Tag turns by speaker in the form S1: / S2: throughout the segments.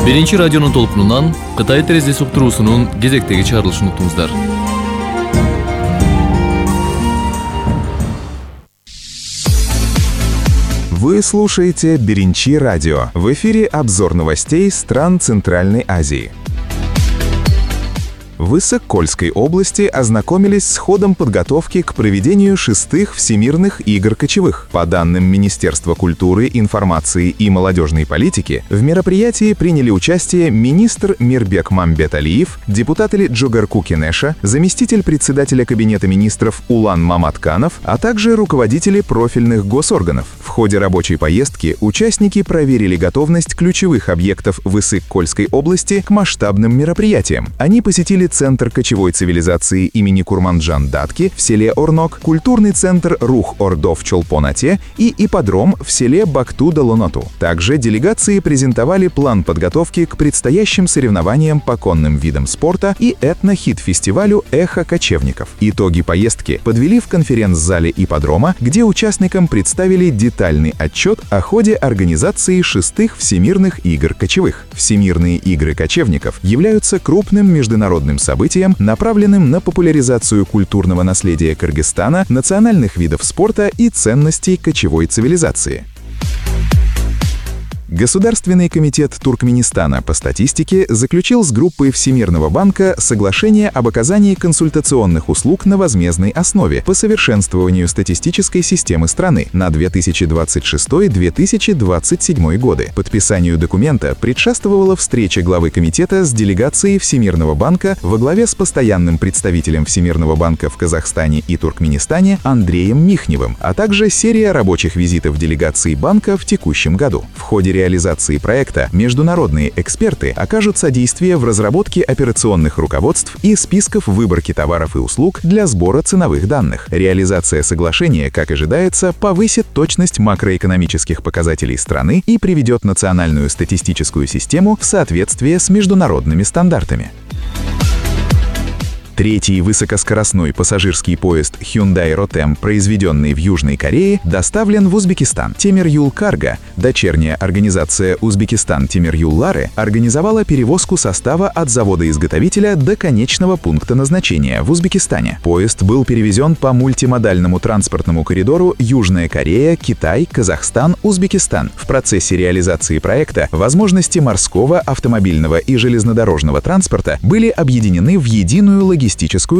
S1: Биринчи радионун толкунунан Кытай терезеси уктуруусунун кезектеги чыгарылышын уктуңуздар.
S2: Вы слушаете Биринчи радио. В эфире обзор новостей стран Центральной Азии. В Иссык-Кульской области ознакомились с ходом подготовки к проведению 6-х Всемирных игр кочевых. По данным Министерства культуры, информации и молодежной политики, в мероприятии приняли участие министр Мирбек Мамбеталиев, депутат Джогарку Кенеша, заместитель председателя Кабинета министров Улан Маматканов, а также руководители профильных госорганов. В ходе рабочей поездки участники проверили готовность ключевых объектов в Иссык-Кульской области к масштабным мероприятиям. Они посетили Центр кочевой цивилизации имени Курманджан Датки в селе Орнок, культурный центр Рух-Ордо в Чолпон-Ате и ипподром в селе Бакту-Долоноту. Также делегации презентовали план подготовки к предстоящим соревнованиям по конным видам спорта и этно-хит-фестивалю «Эхо кочевников». Итоги поездки подвели в конференц-зале ипподрома, где участникам представили детальный отчет о ходе организации 6-х Всемирных игр кочевых. Всемирные игры кочевников являются крупным международным событием, направленным на популяризацию культурного наследия Кыргызстана, национальных видов спорта и ценностей кочевой цивилизации. Государственный комитет Туркменистана по статистике заключил с группой Всемирного банка соглашение об оказании консультационных услуг на возмездной основе по совершенствованию статистической системы страны на 2026-2027 годы. Подписанию документа предшествовала встреча главы комитета с делегацией Всемирного банка во главе с постоянным представителем Всемирного банка в Казахстане и Туркменистане Андреем Михневым, а также серия рабочих визитов делегации банка в текущем году. В ходе реализации проекта международные эксперты окажут содействие в разработке операционных руководств и списков выборки товаров и услуг для сбора ценовых данных. Реализация соглашения, как ожидается, повысит точность макроэкономических показателей страны и приведет национальную статистическую систему в соответствие с международными стандартами. Третий высокоскоростной пассажирский поезд Hyundai Rotem, произведенный в Южной Корее, доставлен в Узбекистан. Темир-Юл Карго, дочерняя организация Узбекистан Темир-Юл Лары, организовала перевозку состава от завода-изготовителя до конечного пункта назначения в Узбекистане. Поезд был перевезен по мультимодальному транспортному коридору Южная Корея, Китай, Казахстан, Узбекистан. В процессе реализации проекта возможности морского, автомобильного и железнодорожного транспорта были объединены в единую логистическую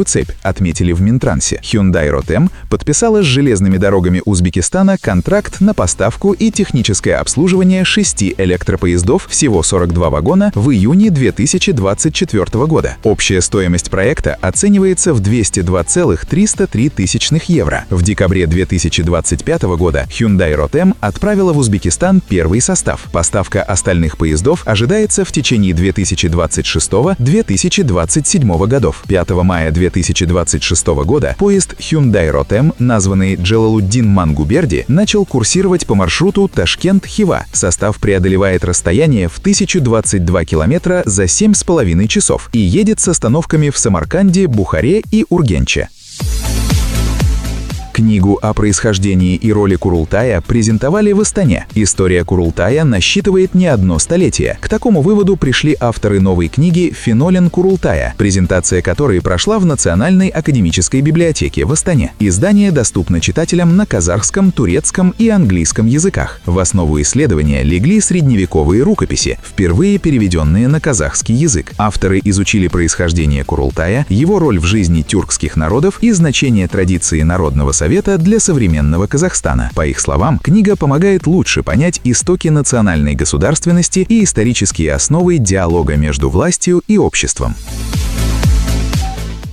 S2: цепь, отметили в Минтрансе. Hyundai Rotem подписала с железными дорогами Узбекистана контракт на поставку и техническое обслуживание 6 электропоездов, всего 42 вагона, в июне 2024 года. Общая стоимость проекта оценивается в 202,303 тысячных евро. В декабре 2025 года Hyundai Rotem отправила в Узбекистан первый состав. Поставка остальных поездов ожидается в течение 2026-2027 годов. 5 мая 2026 года поезд Hyundai Rotem, названный Джалалуддин Мангуберди, начал курсировать по маршруту Ташкент-Хива. Состав преодолевает расстояние в 1022 километра за 7,5 часов и едет с остановками в Самарканде, Бухаре и Ургенче. Книгу о происхождении и роли Курултая презентовали в Астане. История Курултая насчитывает не одно столетие. К такому выводу пришли авторы новой книги «Фенолен Курултая», презентация которой прошла в Национальной академической библиотеке в Астане. Издание доступно читателям на казахском, турецком и английском языках. В основу исследования легли средневековые рукописи, впервые переведенные на казахский язык. Авторы изучили происхождение Курултая, его роль в жизни тюркских народов и значение традиции народного совета для современного Казахстана. По их словам, книга помогает лучше понять истоки национальной государственности и исторические основы диалога между властью и обществом.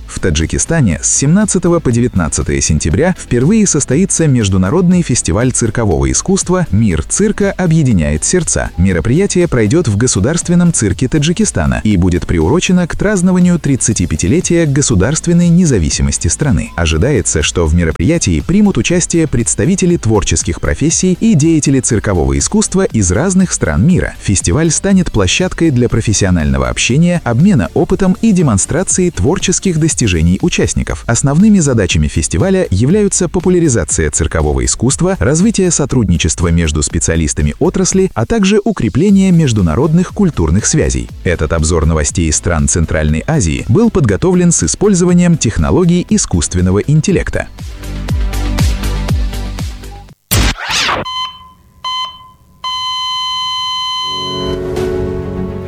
S2: В Таджикистане с 17 по 19 сентября впервые состоится международный фестиваль циркового искусства «Мир цирка объединяет сердца». Мероприятие пройдет в Государственном цирке Таджикистана и будет приурочено к празднованию 35-летия государственной независимости страны. Ожидается, что в мероприятии примут участие представители творческих профессий и деятели циркового искусства из разных стран мира. Фестиваль станет площадкой для профессионального общения, обмена опытом и демонстрации творческих достижений достижений участников. Основными задачами фестиваля являются популяризация циркового искусства, развитие сотрудничества между специалистами отрасли, а также укрепление международных культурных связей. Этот обзор новостей из стран Центральной Азии был подготовлен с использованием технологий искусственного интеллекта.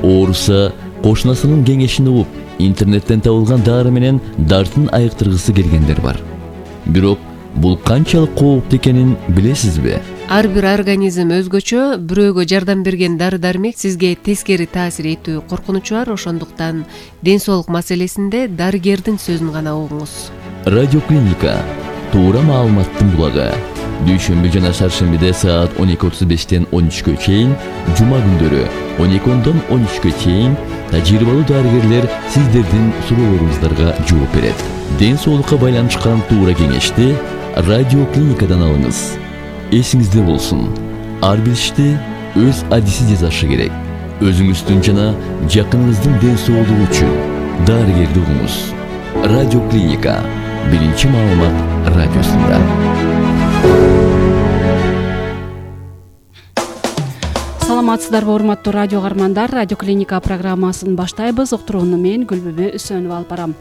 S3: Орусса кошунасынын кеңешин угуп, интернеттен табылган дары менен дартын айыктыргысы келгендер бар. Бирок бул канчалык кооптуу экенин билесизби?
S4: Ар бир организм өзгөчө, бирөөгө жардам берген дары-дармек сизге тескери таасир этүү коркунучу бар, ошондуктан ден соолук маселесинде дарыгердин сөзүн гана угуңуз.
S3: Радиоклиника туура маалыматтын булагы. Дүйшөмбү жана шаршембиде саат 12:35-тен 13-кө чейин, жума күндөрү 12-дон 13-кө чейин тажрыйбалуу дарыгерлер сиздердин суроолоруңуздарга жооп берет. Ден соолукка байланышкан туура кеңешти радиоклиникадан алыңыз. Эсиңизде болсун, ар бир ишти өз адиси жасашы керек. Өзүңүздүн жана жакыныңыздын ден соолугу үчүн дарыгерди угуңуз. Радиоклиника биринчи маалымат радиосунда.
S5: Саламатсыздарбы, урматтуу радио каармандар. Радиоклиника программасын баштайбыз. Уктурууну мен Гүлбүбү Үсөнова алып барам.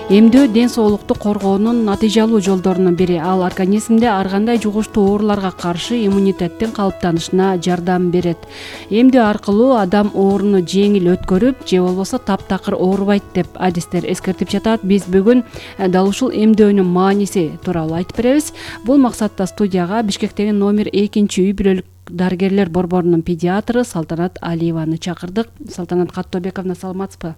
S5: Эмдөө ден соолукту коргоонун натыйжалуу жолдорунун бири. Ал организмде ар кандай жугуштуу ооруларга каршы иммунитеттин калыптанышына жардам берет. Эмдөө аркылуу адам ооруну жеңил өткөрүп, же болбосо таптакыр оорубайт деп адистер эскертип жатат. Биз бүгүн дал ушул эмдөөнүн мааниси тууралуу айтып беребиз. Бул максатта студияга Бишкектеги номер 2-үй бүлөлүк дарыгерлер борборунун педиатры Салтанат Алиеваны чакырдык. Салтанат Каттообековна, саламатсызбы?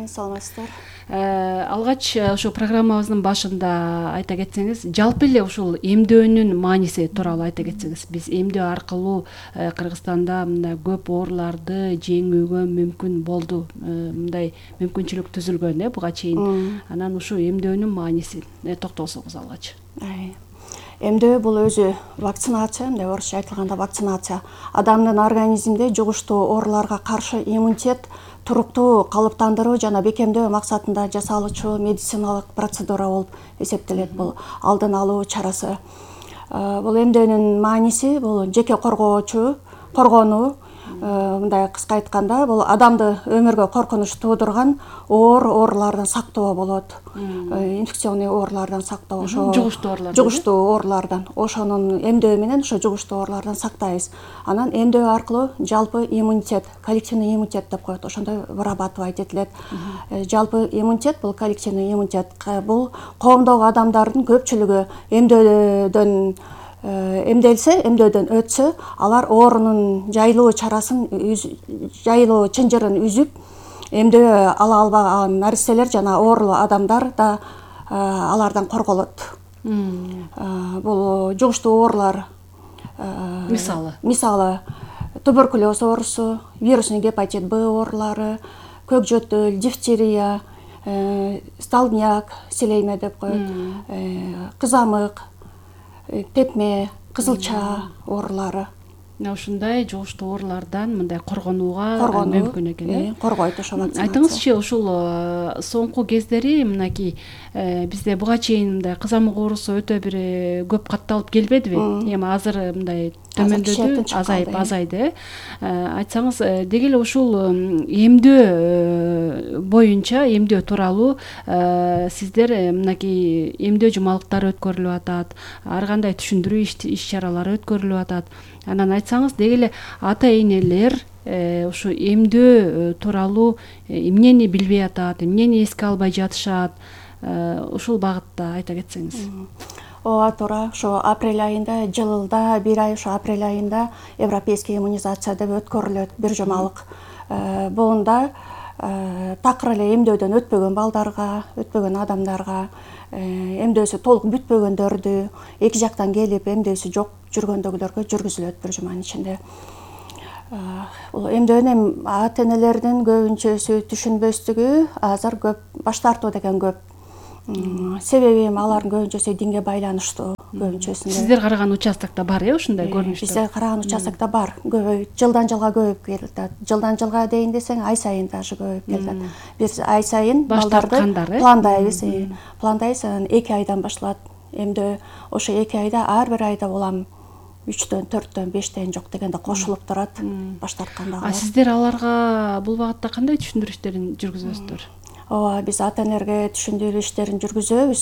S6: Саламатсыздар.
S5: Алгач ошо программабыздын башында айта кетсеңиз, жалпы эле ушул эмдөөнүн мааниси тууралуу айта кетсеңиз. Биз эмдөө аркылуу Кыргызстанда мындай көп ооруларды жеңүүгө мүмкүн болду. Мындай мүмкүнчүлүк түзүлгөн буга чейин. Анан ушул эмдөөнүн маанисин токтолсоңуз алгач.
S6: Эмдөө бул өзү вакцинация, мындай орусча айтылганда вакцинация. Адамдын организминде жугуштуу ооруларга каршы иммунитет туруктуу калыптандыруу жана бекемдөө максатында жасалуучу медициналык процедура болуп эсептелет. Бул алдын алуу чарасы. Бул эмдөөнүн мааниси бул жеке коргонуу. Мындай кыска айтканда, бул адамды өмүргө коркунуч туудурган оорулардан сактоо болот. Инфекционный оорулардан сактоо, ошо жугуштуу оорулардан. Ошонун эмдөө менен ошо жугуштуу оорулардан сактайбыз. Анан эмдөө аркылуу жалпы иммунитет, коллективный иммунитет деп коет. Ошондой вырабатывать этилет. Жалпы иммунитет бул коллективный иммунитет. Бул коомдогу адамдардын көпчүлүгү эмделсе, эмдөөдөн өтсө, алар оорунун жайылуу чынжырын үзүп, эмдөө ала албаган наристелер жана оорулуу адамдар да алардан корголот. Бул жугуштуу оорулар, мисалы туберкулез оорусу, вирусный гепатит Б оорулары, көк жөтөл, дифтерия, столбняк, селейме деп коет, кызамык, тепме, кызылча оорулары.
S5: Ушундай жугуштуу оорулардан мындай коргонууга мүмкүн экен.
S6: Коргойт ошо вакцинация.
S5: Айтыңызчы, ушул соңку кездери мынакей бизде буга чейин мындай кызамык оорусу өтө бир көп катталып келбедиби? Эми азыр мындай төмөндөдү, азайды. Айтсаңыз, деги эле ушул эмдөө боюнча, эмдөө тууралуу сиздер мынакей эмдөө жумалыктары өткөрүлүп атат, ар кандай түшүндүрүү иш-чаралары өткөрүлүп атат. Анан айтсаңыз, деги эле ата-энелер ушу эмдөө тууралуу эмнени билбей атат, эмнени эске албай жатышат, ушул багытта айта кетсеңиз.
S6: Ооба, туура. Ошо апрель айында, жылда бир ай ошо апрель айында европейский иммунизация деп өткөрүлөт, бир жумалык. Буунда такыр эле эмдөөдөн өтпөгөн балдарга, өтпөгөн адамдарга, эмдөөсү толук бүтпөгөндөрдү, эки жактан келип эмдөөсү жок жүргөндөгүлөргө жүргүзүлөт бир жуманын ичинде. Бул эмдөөнү ата-энелердин көбүнчөсү түшүнбөстүгү азыр көп, баш тартуу деген көп. Себеби алардын көбүнчөсү динге байланыштуу көбүнчөсүндө.
S5: Сиздер караган участокто бар ушундай көрүнүштөр?
S6: Бизде караган участокто бар. Жылдан жылга көбөйүп келатат. Жылдан жылга дейин десең, ай сайын даже көбөйүп келатат. Биз ай сайын балдарды пландайбыз. Пландайбыз, 2 айдан башталат. Эмдөө ошо 2 айда ар бир айда улам 3төн, 4төн, 5тен жок дегенде кошулуп турат баш тарткандагы.
S5: Сиздер аларга бул багытта кандай түшүндүрүү иштерин жүргүзөсүздөр?
S6: Ооба, биз ата-энелерге түшүндүрүү иштерин жүргүзөбүз.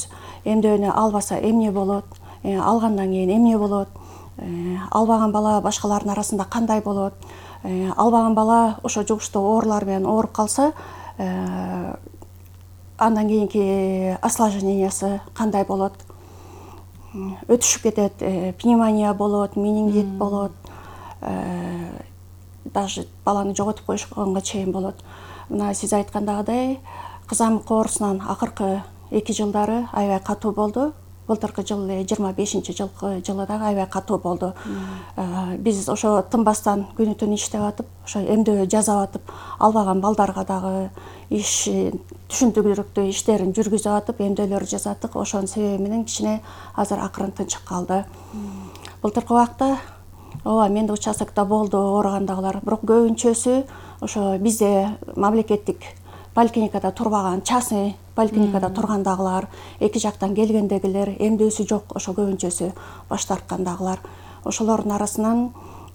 S6: Эмдөөнү албаса эмне болот, алгандан кийин эмне болот, албаган бала башкалардын арасында кандай болот, албаган бала ошо жугуштуу оорулар менен ооруп калса, андан кийинки осложнениясы кандай болот, өтүшүп кетет, пневмония болот, менингит болот, даже баланы жоготуп коюшканга чейин болот. Мына сиз айткандагыдай, кызамык оорусунан акыркы 2 жылдары аябай катуу болду. Былтыркы жыл 25-жылкы жылы дагы аябай катуу болду. Биз ошо тынбастан күнү түн иштеп атып, ошо эмдөө жасап атып, албаган балдарга дагы түшүндүрүктүү иштерин жүргүзүп атып, эмдөөлөр жасаттык. Ошонун себеби менен кичине азыр акырын тынчык калды. Былтыркы убакта ооба, менде участокто болду ооругандагылар, бирок көбүнчөсү ошо бизде мамлекеттик поликлиникада турбаган, частный поликлиникада тургандагылар, эки жактан келгендегилер, эмдөөсү жок, ошо көбүнчөсү баш тарткандагылар. Ошолордун арасынан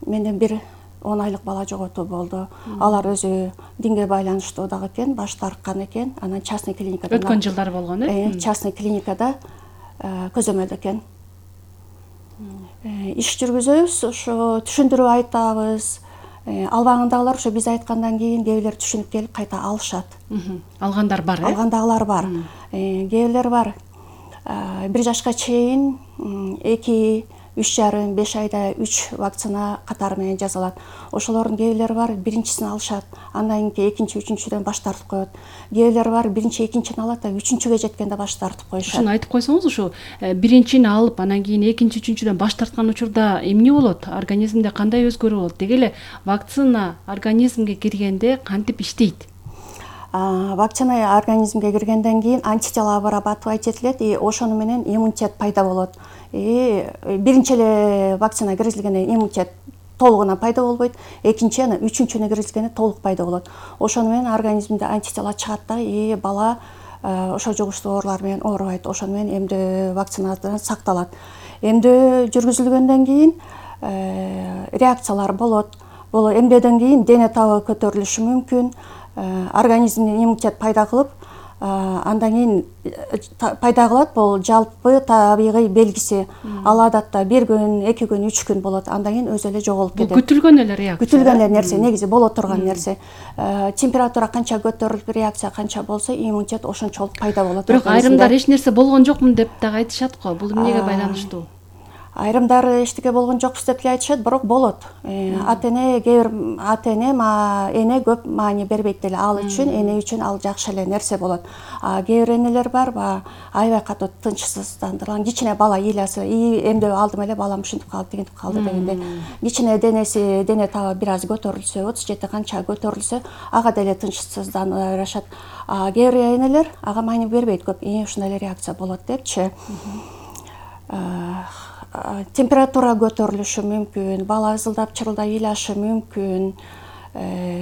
S6: менден бир 10 айлык бала жоготуу болду. Алар өзү динге байланыштуу дагы экен, баш тарткан экен. Анан частный клиникада
S5: өткөн жылдары болгон,
S6: частный клиникада көзөмөлдө экен. Иш жүргүзөбүз, ошо түшүндүрүп айтабыз. Албагандагылар ошо биз айткандан кийин кээ бирлер түшүнүп келип кайта алышат.
S5: Алгандар бар,
S6: Алгандагылар бар. Кээ бирлер бар. 1 жашка чейин 2, 3,5 айда 3 вакцина катары менен жасалат. Ошолордун кээ бирлери бар, биринчисин алышат, андан кийин экинчи, үчүнчүдөн баш тартып коет. Кээ бирлери бар, биринчи, экинчини алат да, үчүнчүгө жеткенде баш тартып коюшат.
S5: Ушуну айтып койсоңуз, ушу биринчини алып, анан кийин экинчи, үчүнчүдөн баш тарткан учурда эмне болот? Организмде кандай өзгөрүү болот? Деги эле вакцина организмге киргенде кантип иштейт?
S6: Вакцина организмге киргенден кийин антитела вырабатывать этилет, и ошону менен иммунитет пайда болот. Биринчи эле вакцина киргизилгенде иммунитет толугунан пайда болбойт, экинчи, анан үчүнчүнү киргизгенде толук пайда болот. Ошону менен организмде антитела чыгат да, бала ошо жугуштуу оорулар менен оорубайт. Ошону менен эмдөө вакцинадан сакталат. Эмдөө жүргүзүлгөндөн кийин реакциялар болот. Бул эмдөөдөн кийин дене табы көтөрүлүшү мүмкүн, организмден иммунитет пайда кылып, андан кийин пайда кылат. Бул жалпы табигый белгиси. Ал адатта 1 күн, 2 күн, 3 күн болот. Андан кийин өзү эле жоголуп кетет.
S5: Бул күтүлгөн эле реакция.
S6: Күтүлгөн эле нерсе, негизи боло турган нерсе. Температура канча көтөрүлүп, реакция канча болсо, иммунитет ошончолук пайда болот.
S5: Бирок айрымдар эч нерсе болгон жокмун деп дагы айтышат го. Бул эмнеге байланыштуу?
S6: Айрымдары эчтеке болгон жокпуз деп эле айтышат, бирок болот. Ата-эне, кээ бир ата-эне, эне көп маани бербейт деле. Ал үчүн, эне үчүн ал жакшы эле нерсе болот. Кээ бир энелер бар, аябай катуу тынчсыздандырган, кичине бала ыйласы, эмдөө алдым эле, балам ушинтип калды, тигинтип калды дегенде, кичине денеси, дене табы бир аз көтөрүлсө, 37 канча көтөрүлсө, ага деле тынчсыздана беришат. Кээ бир энелер ага маани бербейт көп, ушундай эле реакция болот депчи. Температура көтөрүлүшү мүмкүн, бала ызылдап, чырылдап ыйлашы мүмкүн,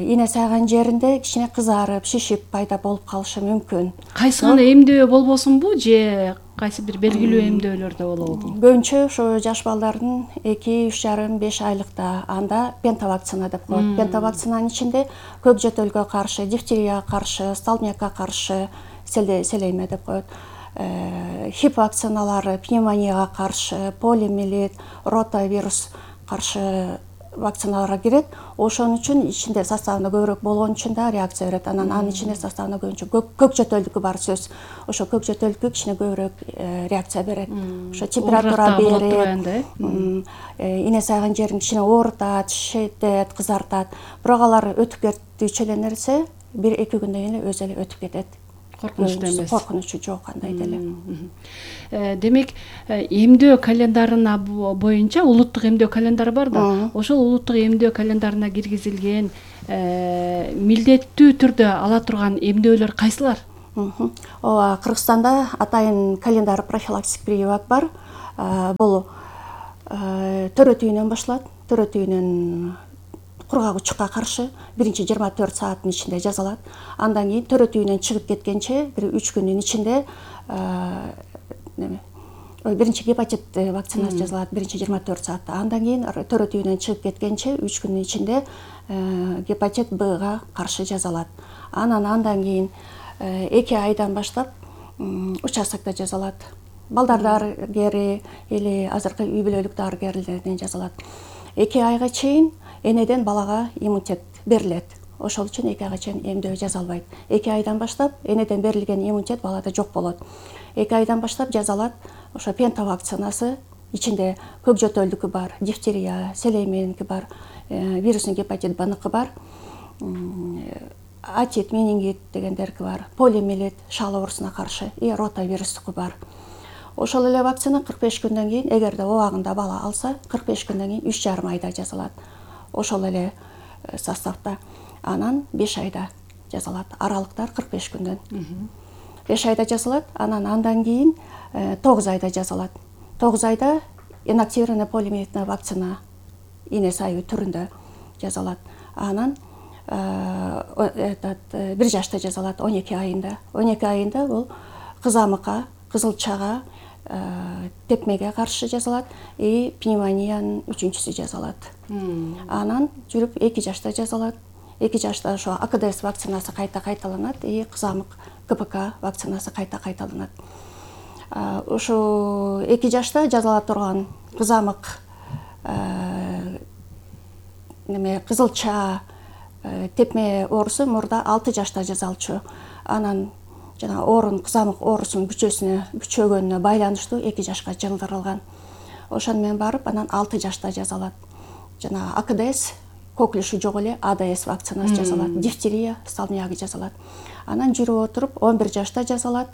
S6: ийне сайган жеринде кичине кызарып, шишип пайда болуп калышы мүмкүн.
S5: Кайсы гана эмдөө болбосунбу же кайсы бир белгилүү эмдөөлөрдө болобу?
S6: Көбүнчө ошо жаш балдардын 2, 3,5, 5 айлыкта анда пентавакцина деп коет. Пентавакцинанын ичинде көк жөтөлгө каршы, дифтерияга каршы, столбнякка каршы, селейме деп коет. Хип вакциналары пневмонияга каршы, полиомиелит, ротавирус каршы вакциналарга кирет. Ошон үчүн ичинде составында көбүрөөк болгон үчүн да реакция берет. Анын ичинде составында көбүнчө көк жөтөлдүкү бар сөз. Ошо көк жөтөлдүкү кичине көбүрөөк реакция берет. Ошо температура берет, ийне сайган жерин кичине оорутат, шишетет, кызартат. Бирок алар өтүп кетүүчү эле нерсе, 1-2 күндөн кийин эле өзү эле өтүп кетет.
S5: Коркунучтуу эмес.
S6: Коркунучу жок андай деле.
S5: Демек, эмдөө календарына боюнча улуттук эмдөө календары бар да. Ошол улуттук эмдөө календарына киргизилген милдеттүү түрдө ала турган эмдөөлөр кайсылар?
S6: Ооба, Кыргызстанда атайын календар профилактик прививок бар. Бул төрө түйүнөн башталат. Төрө түйүнөн кургак учукка каршы биринчи 24 сааттын ичинде жасалат. Андан кийин төрө түйүнөн чыгып кеткенче бир 3 күндүн ичинде биринчи гепатит вакцинасы жасалат, биринчи 24 саатта. Андан кийин төрө түйүнөн чыгып кеткенче 3 күндүн ичинде гепатит Б-га каршы жасалат. Андан кийин 2 айдан баштап участокто жасалат. Балдар дарыгери или азыркы үй бүлөлүк дарыгерлерден жасалат. 2 айга чейин энеден балага иммунитет берилет. Ошол үчүн 2 айга чейин эмдөө жасалбайт. 2 айдан баштап энеден берилген иммунитет балада жок болот. 2 айдан баштап жасалат ошо пента вакцинасы. Ичинде көк жөтөлдүкү бар, дифтерия, селейменки бар, вирусный гепатит Б-ныкы бар, атит, менингит дегендерки бар, полиомиелит, шал оорусуна каршы и ротавирустуку бар. Ошол эле вакцина 45 күндөн кийин, эгерде убагында бала алса, 45 күндөн кийин 3,5 айда жасалат. Ошол эле составда. Анан 5 айда жасалат. Аралыктар 45 күндөн. 5 айда жасалат. Андан кийин 9 айда жасалат. 9 айда инактивированный полиомиелитная вакцина ине сайы түрүндө жасалат. Анан 1 жашта жасалат 12 айында. 12 айында бул кызамыкка, кызылчага, тепмеге каршы жасалат и пневмониянын 3-чүсү жасалат. Анан жүрүп 2 жашта жасалат. 2 жашта ошо АКДС вакцинасы кайта кайталанат и кызамык КПК вакцинасы кайта кайталанат. Ошо 2 жашта жасала турган кызамык, кызылча, тепме оорусу мурда 6 жашта жасалчу. Анан жана кызамык оорусунун күчөгөнүнө байланыштуу 2 жашка жылдырылган. Ошону менен барып, анан 6 жашта жасалат. Жана АКДС, коклюшу жок эле АДС вакцинасы жасалат, дифтерия, столбнягы жасалат. Анан жүрүп отуруп 11 жашта жасалат,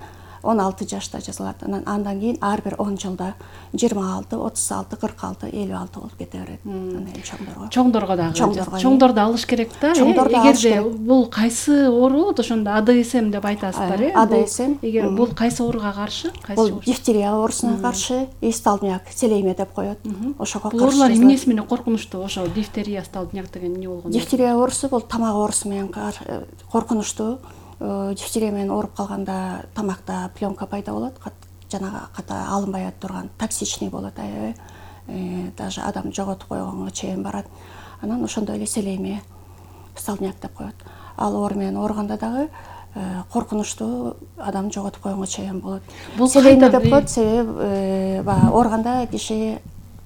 S6: 16 жашта жасалат. Андан кийин ар бир 10 жылда 26, 36, 46, 56 болуп кете берет. Анан чоңдорго.
S5: Чоңдорго дагы. Чоңдорду алыш керек да. Эгерде бул кайсы оору болот, ошондо АДСМ деп айтасыздар,
S6: АДСМ.
S5: Эгер бул кайсы ооруга каршы?
S6: Бул дифтерия оорусуна каршы, и столбняк, селейме деп коет. Ошого каршы.
S5: Оорулар эмнеси менен коркунучтуу? Ошо дифтерия, столбняк деген эмне болгон?
S6: Дифтерия оорусу бул тамак оорусу менен коркунучтуу. Дифтерия менен ооруп калганда тамакта пленка пайда болот, жанагы ката алынбай турган токсичный болот, даже адам жоготуп койгонго чейин барат. Анан ошондой эле селейме, столбняк деп коет. Ал оору менен ооруганда дагы коркунучтуу, адам жоготуп койгонго чейин болот. Селейме деп коет, себеби баягы ооруганда киши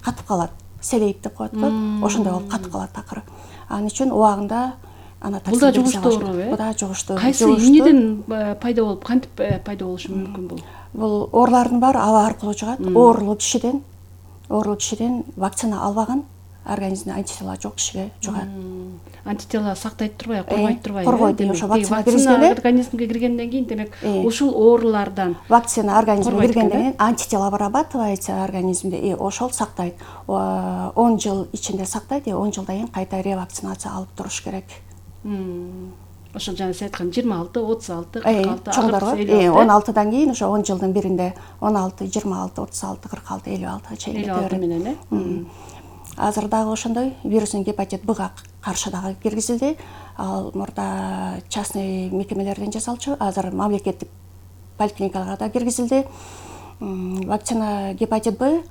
S6: катып калат, селейт деп коет го, ошондой болуп катып калат акыры. Анын үчүн убагында
S5: бул да жугуштуу оору,
S6: бул да жугуштуу.
S5: Кайсы эмнеден пайда болуп, кантип пайда болушу мүмкүн бул?
S6: Бул оорулардын баары аба аркылуу жугат. Оорулуу кишиден вакцина албаган, организмде антитела жок кишиге жугат.
S5: Антитела сактайт турбайбы, коргойт турбайбы?
S6: Коргойт. Ошо вакцина киргизгенде,
S5: организмге киргенден кийин, демек, ушул оорулардан
S6: вакцина организмге киргенден кийин антитела вырабатывается организмде, и ошол сактайт. 10 жыл ичинде сактайт, и 10 жылдан кийин кайта ревакцинация алып туруш керек.
S5: Ошол жана сиз айткан 26, 36, 46,
S6: чоңдорго 16дан кийин ошо 10 жылдын биринде 16, 26, 36, 46, 56 чейин кете берет.
S5: 56 менен,
S6: Азыр дагы ошондой вирусный гепатит Б-га каршы дагы киргизилди. Ал мурда частный мекемелерден жасалчу, азыр мамлекеттик поликлиникаларга да киргизилди. Вакцина гепатит Б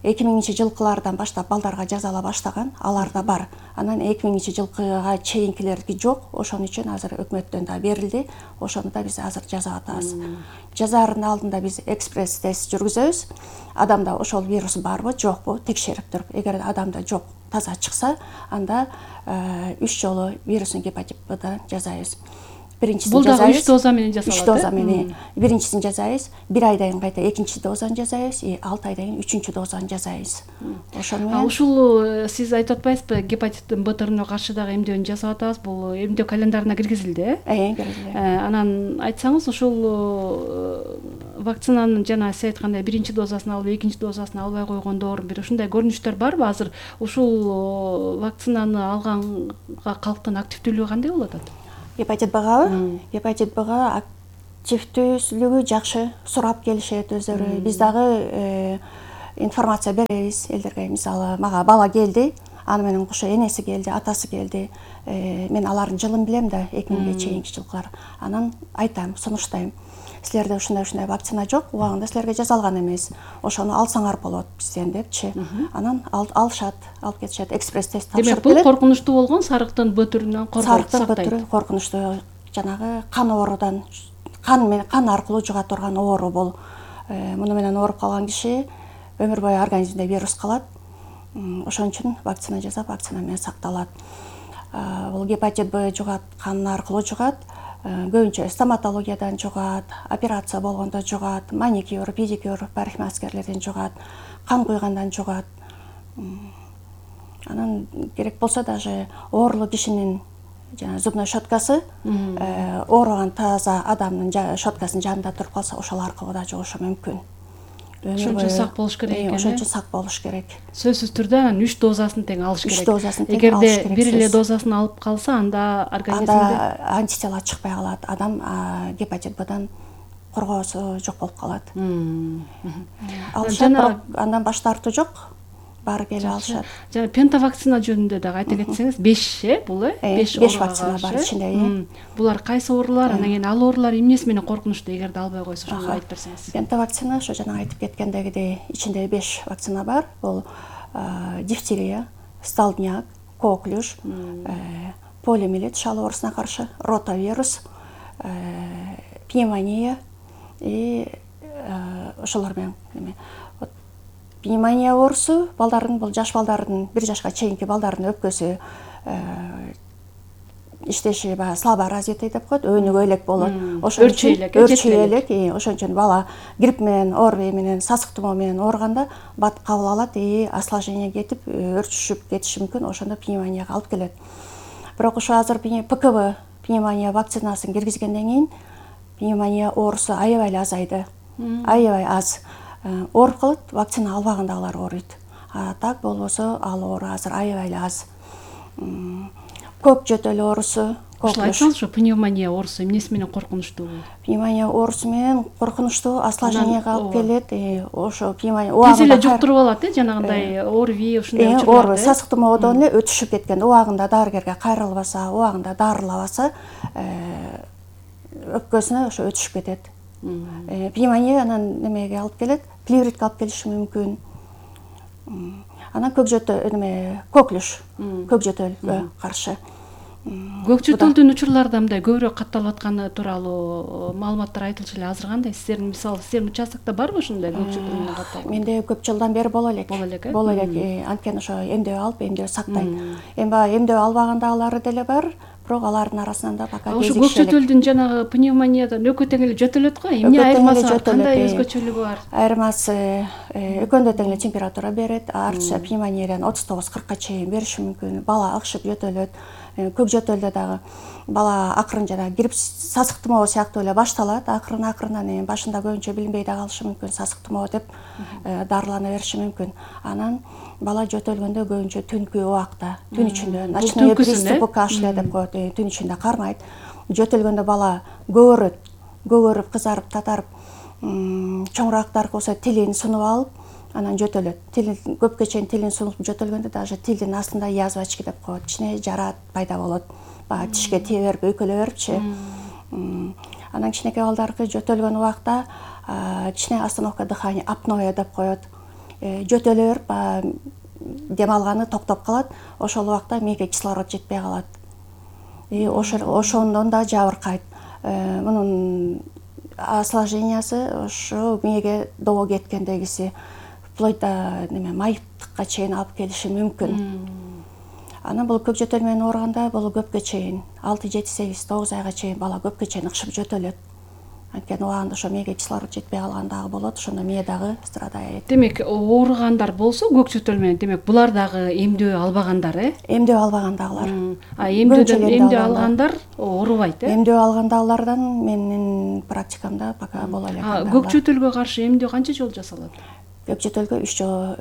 S6: 2000-жылкылардан баштап балдарга жасала баштаган, аларда бар. Анан 2000-жылкыга чейинкилерди жок, ошон үчүн азыр өкмөттөн да берилди. Ошону да биз азыр жасап атабыз. Жасаардын алдында биз экспресс тест жүргүзөбүз. Адамда ошол вирус барбы, жокпу текшерип туруп, эгер адамда жок, таза чыкса, анда 3 жолу вирусный гепатит Б-дан жасайбыз. Бул
S5: дагы 3 доза менен жасалат.
S6: 3 доза менен. Биринчисин жасайбыз, 1 айдан кийин кайта экинчи дозаны жасайбыз, 6 айдан кийин үчүнчү дозаны жасайбыз. Ошону менен
S5: ушул сиз айтып атпайсызбы, гепатиттин Б түрүнө каршы дагы эмдөөнү жасап атабыз. Бул эмдөө календарына киргизилди,
S6: киргизилди.
S5: Анан айтсаңыз, ушул вакцинанын жана сиз айткандай биринчи дозасын алып, экинчи дозасын албай койгондор бир ушундай көрүнүштөр барбы? Азыр ушул вакцинаны алганга калктын активдүүлүгү кандай болуп атат?
S6: Гепатит Б-га, гепатит Б-га активдүүлүгү жакшы, сурап келишет өздөрү. Биз дагы информация беребиз элдерге. Мисалы, мага бала келди, аны менен кошо энеси келди, атасы келди. Мен алардын жылын билем да, 2000-ге чейинки жылкылар. Анан айтам, сунуштайм. Силерде ушундай вакцина жок, убагында силерге жасалган эмес. Ошону алсаңар болот бизден депчи. Анан алышат, алып кетишет, экспресс тест тапшырып келет.
S5: Демек, бул коркунучтуу болгон сарыктын бөтүрүнөн коргоп сактайт.
S6: Сарыктын бөтүрү коркунучтуу, жанагы кан оорудан, кан аркылуу жуга турган оору бул. Муну менен ооруп калган киши өмүр бою организмде вирус калат. Ошон үчүн вакцина жасап, вакцина менен сакталат. Бул гепатит Б жугат, кан аркылуу жугат. Көбүнчө стоматологиядан жугат, операция болгондо жугат, маникюр, педикюр, парикмахерлерден жугат, кан куйгандан жугат. Анан керек болсо даже оорулуу кишинин зубной щеткасы ооруган таза адамдын щеткасынын жанында туруп калса, ошол аркылуу да жугушу мүмкүн.
S5: Ошон үчүн сак болуш керек экен.
S6: Ошон үчүн сак болуш керек.
S5: Сөзсүз түрдө анан 3 дозасын тең алыш керек.
S6: 3 дозасын тең алыш керек.
S5: Эгерде бир эле дозасын алып калса, анда организмде
S6: антитела чыкпай калат. Адам гепатит Б'дан коргоосу жок болуп калат. Алышат, бирок андан баш тартуу жок. Баары келип алышат.
S5: Жана пентавакцина жөнүндө дагы айта кетсеңиз, 5 булы, 5
S6: вакцина бар ичинде.
S5: Булар кайсы оорулар, анан кийин ал оорулар эмнеси менен коркунучтуу, эгерде албай койсо, ошону айтып берсеңиз.
S6: Пентавакцина, ошо жана айтып кеткендегидей, ичинде 5 вакцина бар. Бул дифтерия, столбняк, коклюш, полиомиелит, шал оорусуна каршы, ротавирус, пневмония и ошолор менен пневмония оорусу балдардын, бул жаш балдардын, 1 жашка чейинки балдардын өпкөсү иштеши слабо развитый деп коет, өөнүгө элек болот. Ошон үчүн өрчүй элек, ошон үчүн бала грипп менен, ОРВИ менен, сасык тумоо менен ооруганда бат кабыл алат, осложнение кетип, өрчүшүп кетиши мүмкүн, ошондо пневмонияга алып келет. Бирок ошо азыр ПКВ пневмония вакцинасын киргизгенден кийин пневмония оорусу аябай эле азайды. Аябай аз. Ооруп калат, вакцина албагандагылар ооруйт. Так болбосо ал оору азыр аябай эле аз. Көк жөтөл оорусу,
S5: ошол айтсаңызчы, пневмония оорусу эмнеси менен коркунучтуу?
S6: Пневмония оорусу менен коркунучтуу, осложненияга алып келет. Ошо пневмония
S5: тез эле жуктуруп алат, жанагындай ОРВИ ушундай учурларда.
S6: Сасык тумоодон эле өтүшүп кеткен, убагында дарыгерге кайрылбаса, убагында дарылабаса, өпкөсүнө ошо өтүшүп кетет. Пневмония анан немеге алып келет, плевритке алып келиши мүмкүн. Анан көк жөтөл, коклюш, көк жөтөлгө каршы.
S5: Көк жөтөлдүн учурларда мындай көбүрөөк катталып атканы тууралуу маалыматтар айтылчу эле. Азыр кандай? Сиздердин мисалы, сиздердин участокто барбы ушундай көк жөтөл менен катталган?
S6: Менде көп жылдан бери боло элек. Боло элек. Анткени ошо эмдөө алып, эмдөө сактайт. Эми баягы эмдөө албагандагылары деле бар. Бирок алардын арасынан да пока
S5: ошо көк жөтөлдүн жанагы пневмониядан экөө тең эле жөтөлөт го. Эмне айырмасы бар? Кандай өзгөчөлүгү бар?
S6: Айырмасы экөөндө тең эле температура берет. Артча пневмониядан 39-40ка чейин бериши мүмкүн. Бала акшып жөтөлөт. Көк жөтөлдө дагы бала акырын жана грипп, сасык тумоо сыяктуу эле башталат. Акырынан башында көбүнчө билинбей да калышы мүмкүн, сасык тумоо деп дарылана бериши мүмкүн. Анан бала жөтөлгөндө көбүнчө түнкү убакта, түн ичинде ночной приступ кашля деп коет, түн ичинде кармайт. Жөтөлгөндө бала көгөрүп, кызарып, татарып, чоңураактар болсо тилин сунуп алып, анан жөтөлөт. Көпкө чейин тилин сунуп жөтөлгөндө даже тилдин астында язвачки деп коет, ичине жараат пайда болот. Баягы тишке тие берип, өйкөлө берипчи. Анан кичинекей балдарды жөтөлгөн убакта кичине остановка дыхания, апноэ деп коет. Жөтөлө берип, дем алганы токтоп калат. Ошол убакта мээге кислород жетпей калат. Ошондон да жабыркайт. Мунун осложнениясы ошо мээге добо кеткендегиси вплоть до майыптыкка чейин алып келиши мүмкүн. Анан бул көк жөтөл менен ооруганда бул көпкө чейин 6, 7, 8, 9 айга чейин бала көпкө чейин ыкшып жөтөлөт. Анткени убагында ошо мээге кислород жетпей калган дагы болот, ошондо мээ дагы страдает.
S5: Демек, ооругандар болсо көк жөтөл менен, демек булар дагы эмдөө албагандар,
S6: Эмдөө албагандагылар.
S5: Эмдөө алгандар оорубайт,
S6: Эмдөө алгандагылардан менин практикамда пока боло элек.
S5: Көк жөтөлгө каршы эмдөө канча жолу жасалат?
S6: Көк жөтөлгө 3 жолу,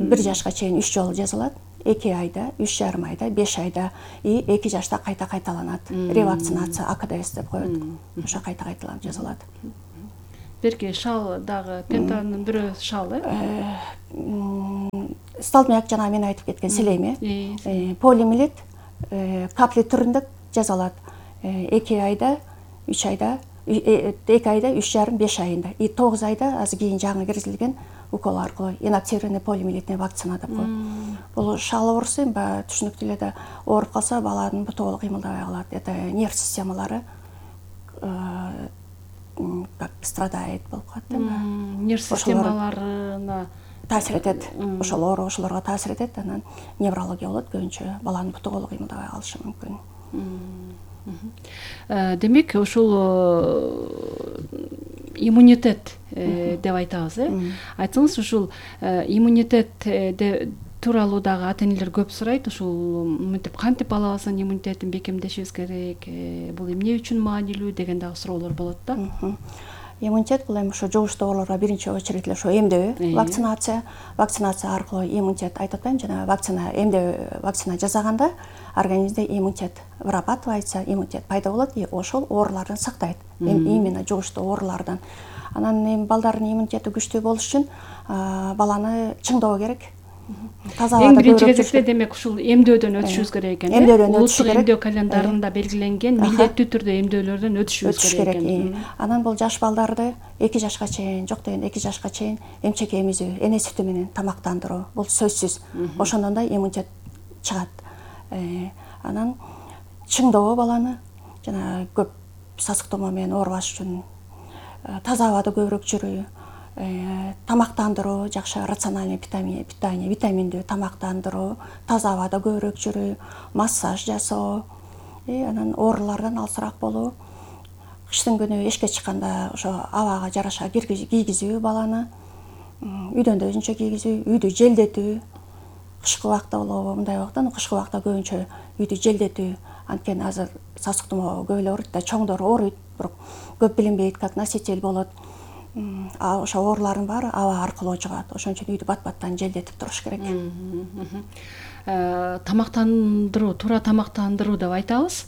S6: 1 жашка чейин 3 жолу жасалат. 2 айда, 3,5 айда, 5 айда и 2 жашта кайта кайталанат. Ревакцинация АКДС деп коет. Ошо кайта кайталанып жасалат.
S5: Берки шал дагы пентанын бирөө шал
S6: Столбняк жана мен айтып кеткен селейме. Полиомиелит капли түрүндө жасалат. 2 айда, 3 айда, 2 айда, 3,5-5 айында. И 9 айда азыр кийин жаңы киргизилген укол аркылуу инактивированный полиомиелитный вакцина деп коет. Бул шал оорусу эми түшүнүктүү эле да ооруп калса баланын буту кыймылдабай калат. Это нерв системалары как страдает болуп калат.
S5: Нерв системаларына
S6: таасир этет. Ошол оору ошолорго таасир этет, анан неврология болот көбүнчө. Баланын буту колу кыймылдабай калышы мүмкүн.
S5: Демек ушул иммунитет деп айтабыз, айтсаңыз ушул иммунитет тууралуу дагы ата-энелер көп сурайт. Ушул мынтип кантип балабыздын иммунитетин бекемдешибиз керек, бул эмне үчүн маанилүү деген дагы суроолор болот да.
S6: Иммунитет бул эми ошо жугуштуу ооруларга биринчи очередь эле ошо эмдөө, вакцинация аркылуу иммунитет айтып атпаймынбы, жана вакцина жасаганда организмде иммунитет вырабатывается, иммунитет пайда болот и ошол оорулардан сактайт. Именно жугуштуу оорулардан. Анан эми балдардын иммунитети күчтүү болуш үчүн баланы чыңдоо керек.
S5: Эң биринчи кезекте демек ушул эмдөөдөн өтүшүбүз керек экен. Улуттук эмдөө календарында белгиленген милдеттүү түрдө эмдөөлөрдөн өтүшүбүз керек экен.
S6: Анан бул жаш балдарды 2 жашка чейин, жок дегенде 2 жашка чейин эмчек эмизүү, эне сүтү менен тамактандыруу бул сөзсүз. Ошондон да иммунитет чыгат. Анан чыңдоо баланы жана көп сасык томоо менен оорубаш үчүн таза абада көбүрөөк жүрүү, тамактандыруу, жакшы рациональный питание, витаминдүү тамактандыруу, таза абада көбүрөөк жүрүү, массаж жасоо, анан оорулардан алысыраак болуу. Кыштын күнү эшикке чыкканда ошо абага жараша кийгизүү баланы, үйдөн да өзүнчө кийгизүү, үйдү желдетүү. Кышкы убакта болобу, мындай убакта, кышкы убакта көбүнчө үйдү желдетүү. Анткени азыр сасык тумоо көп эле ооруйт да, чоңдор ооруйт, бирок көп билинбейт, как носитель болот. Ошо оорулардын баары аба аркылуу жугат. Ошон үчүн үйдү бат-баттан желдетип туруш керек.
S5: Тамактандыруу, туура тамактандыруу деп айтабыз.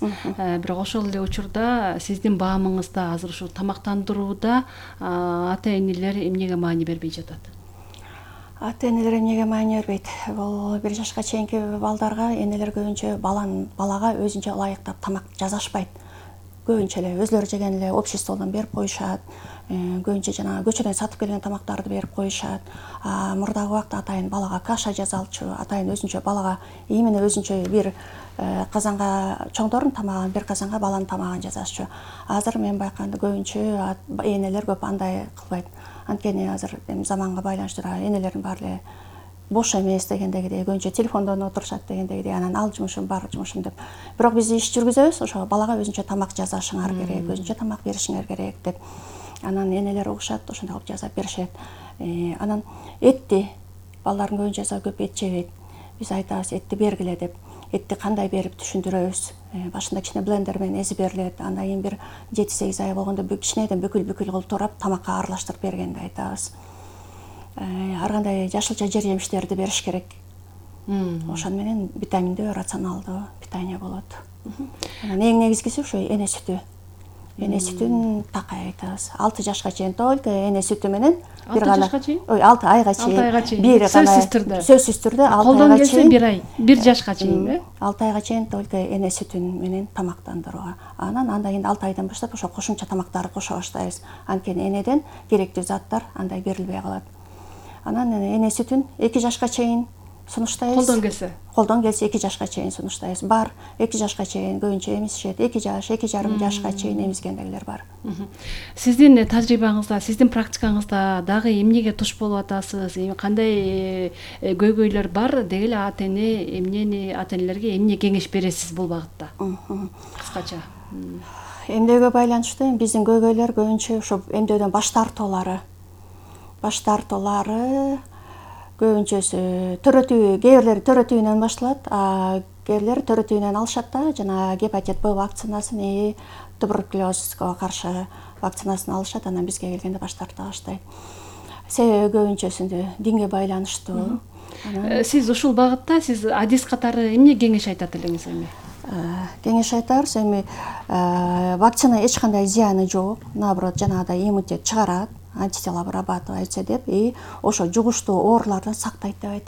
S5: Бирок ошол эле учурда сиздин баамыңызда азыр ушул тамактандырууда ата-энелер эмнеге маани бербей жатат?
S6: Ата-энелер эмнеге маани бербейт? Бул 1 жашка чейинки балдарга энелер көбүнчө балага өзүнчө ылайыктап тамак жасашпайт. Көбүнчө эле өзлөрү жеген эле обществодон берип коюшат. Көбүнчө жана көчөдөн сатып келген тамактарды берип коюшат. Мурдагы убакта атайын балага каша жасалчу, атайын өзүнчө балага именно өзүнчө бир казанга чоңдордун тамагын, бир казанга баланын тамагын жасашчу. Азыр мен байкаганда көбүнчө энелер көп андай кылбайт. Анткени азыр заманга байланыштуу энелердин баары эле бош эмес дегендегидей, көбүнчө телефондон отурушат дегендегидей, анан ал жумушум, бар жумушум деп. Бирок биз иш жүргүзөбүз, ошо балага өзүнчө тамак жасашыңар керек, өзүнчө тамак беришиңер керек деп. Анан энелер угушат, ошондой кылып жасап беришет. Анан этти балдардын көбүнчөсү көп эт жебейт. Биз айтабыз этти бергиле деп. Этти кандай берип түшүндүрөбүз. Башында кичине блендер менен эзип берилет. Андан кийин бир 7-8 ай болгондо кичинеден бүкүл кылып турап тамакка аралаштырып бергенди айтабыз. Ар кандай жашылча жер жемиштерди бериш керек. Ошон менен витаминдүү, рационалдуу питание болот. Анан эң негизгиси ошо эне сүтү. Эне сүтүн такай айтабыз. 6 жашка чейин только эне сүтү менен
S5: бир гана
S6: 6 айга чейин
S5: бир гана сөзсүз түрдө 6 айга чейин 1 ай 1 жашка чейин
S6: 6 айга чейин только эне сүтүн менен тамактандырууга. Андан кийин 6 айдан баштап ошо кошумча тамактарды кошо баштайбыз. Анткени энеден керектүү заттар андай берилбей калат. Анан эне сүтүн 2 жашка чейин сунуштайбыз. Колдон келсе 2 жашка чейин сунуштайбыз. Бар 2 жашка чейин көбүнчө эмизишет. 2 жаш, 2,5 жашка чейин эмизгендегилер бар.
S5: Сиздин тажрыйбаңызда, сиздин практикаңызда дагы эмнеге туш болуп атасыз? Кандай көйгөйлөр бар? Деги эле ата-энелерге эмне кеңеш бересиз бул багытта? Кыскача.
S6: Эмдөөгө байланыштуу биздин көйгөйлөр көбүнчө ошо эмдөөдөн баш тартуулары көбүнчөсү төрөтүү, кээ бирлери төрөтүүнөн башталат, кээ бирлери төрөтүүнөн алышат да, жана гепатит Б вакцинасын, туберкулезго каршы вакцинасын алышат, анан бизге келгенде баш тарта баштайт. себеби көбүнчөсүндө динге байланыштуу.
S5: Сиз ушул багытта сиз адис катары эмне кеңеш айтат элеңиз эми?
S6: Кеңеш айтарбыз эми вакцина эч кандай зыяны жок, наоборот жанагыдай иммунитет чыгарат, антитела вырабатывается деп, и ошо жугуштуу оорулардан сактайт деп айтабыз.